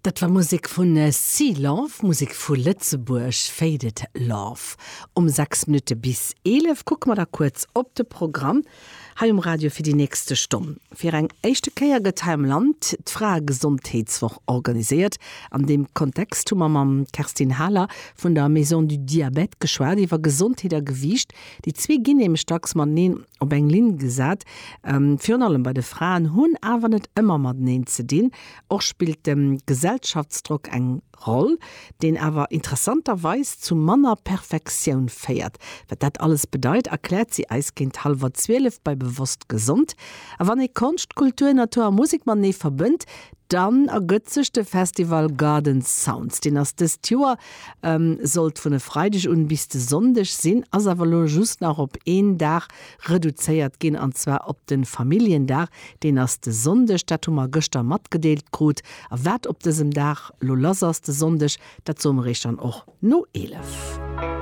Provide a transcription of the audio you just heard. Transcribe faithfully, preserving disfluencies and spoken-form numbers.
Dat war Musek vun Sea Love, Musek vu Lëtzebuerg, Faded Love. Um sechs Minutte bis eelef kucke mer da kuerz op de Programm hei um Radio fir déi nächste Stonn. Fir eng éischte Kéier gëtt hei am Land d'Fraegesondheetswoch organiséiert. An deem Kontext hu mer mam Kerstin Haler vun der Maison du Diabète geschwat iwwer Gesondheet a Gewiicht. Déi zwee ginn nämlech dacks mateneen op eng Linn gesat, virun allem bei de Fraen, hunn awer net ëmmer mateneen ze dinn. Och spillt de Gesellschaftsdrock eng Roll, deen awer interessanterweis zu manner Perfektioun féiert. Wat dat alles bedeit, erkläert si eis géint hallwer zwielef bei Bewosst Gesond. A wann ee Konscht, Kultur, Natur a Musek matenee verbënnt, dann ergëtt sech de Festival Garden Sounds. Deen ass dëst Joer, sollt vun e Freideg un bis de Sonndeg sinn, ass awer elo just nach op een Dag reduzéiert ginn, an zwar op de Familljendag. Deen ass de Sonndeg, dat hu mer gëschter matgedeelt krut. A wat op dësem Dag lo lass ass, de Sonndeg, dat soe mer iech dann och no eelef.